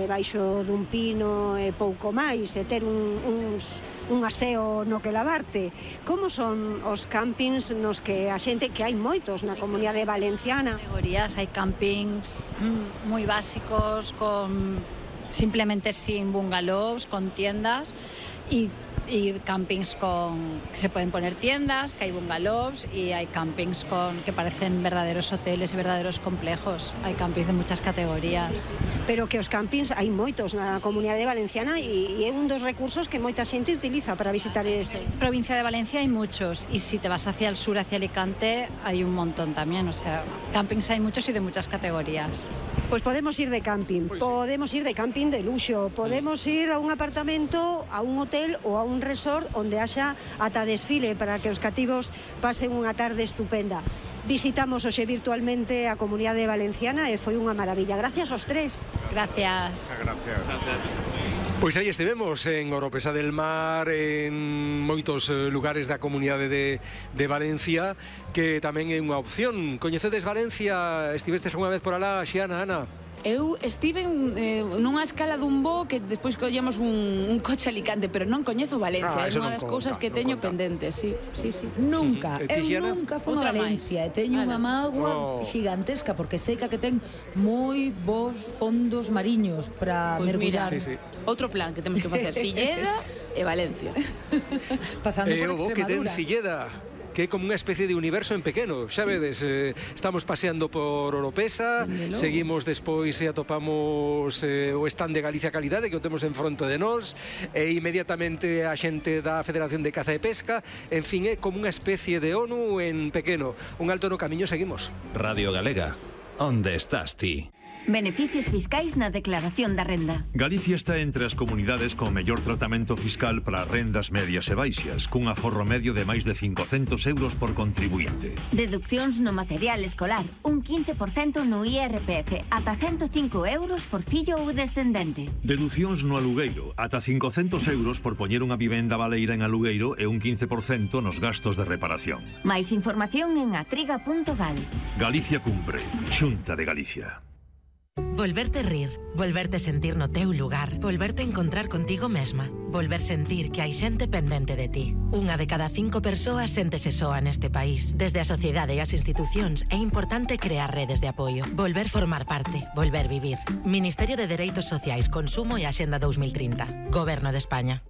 Debaixo dun pino e pouco máis, e ter un aseo no que lavarte. Como son os campings nos que a xente, que hai moitos na Comunidade Valenciana? Categorías, hai campings moi básicos, simplemente sin bungalows, con tiendas, y campings que se pueden poner tiendas, que hay bungalows, y hay campings que parecen verdaderos hoteles y verdaderos complejos. Hay campings de muchas categorías. Sí. Pero que os campings hai moitos na Comunidade Valenciana e é un dos recursos que moita xente utiliza para visitar ese. En provincia de Valencia hay muchos, y si te vas hacia el sur, hacia Alicante, hay un montón también. O sea, campings hay muchos y de muchas categorías. Pues podemos ir de camping, podemos ir de camping de luxo, podemos ir a un apartamento, a un hotel ou a un resort onde haxa ata desfile para que os cativos pasen unha tarde estupenda. Visitamos hoxe virtualmente a Comunidade Valenciana e foi unha maravilla. Gracias aos tres. Gracias. Gracias. Pois aí estivemos en Oropesa del Mar, en moitos lugares da Comunidade de Valencia, que tamén é unha opción. Coñecedes Valencia? Estivestes unha vez por alá, Xiana, Ana? Eu estive nunha escala dun bo que despois collemos un coche a Alicante, pero non coñezo Valencia, é unha das cousas que teño pendentes, sí. Nunca, eu nunca fui a Valencia, e teño unha mágoa xigantesca, porque sei que ten moi bons fondos mariños para mergullar. Outro plan que temos que facer, Silleda e Valencia. Pasando por Extremadura. Que ten Silleda, que é como unha especie de universo en pequeno, xa vedes, estamos paseando por Oropesa, seguimos despois e atopamos o stand de Galicia Calidade, que o temos en fronte de nós, e inmediatamente a xente da Federación de Caza e Pesca, en fin, é como unha especie de ONU en pequeno. Un alto no camiño seguimos. Radio Galega, onde estás ti? Beneficios fiscais na declaración da renda. Galicia está entre as comunidades con mellor tratamento fiscal para rendas medias e baixas, cun aforro medio de máis de 500 euros por contribuinte. Deduccións no material escolar, un 15% no IRPF, ata 105 euros por fillo ou descendente. Deducións no alugueiro, ata 500 euros por poñer unha vivenda baleira en alugueiro e un 15% nos gastos de reparación. Máis información en atriga.gal. Galicia cumpre, Xunta de Galicia. Volverte rir, volverte sentir no teu lugar, volverte encontrar contigo mesma, volver sentir que hai xente pendente de ti. Unha de cada 5 persoas séntese soa neste país. Desde a sociedade e as institucións é importante crear redes de apoio, volver formar parte, volver vivir. Ministerio de Dereitos Sociais, Consumo e Axenda 2030. Goberno de España.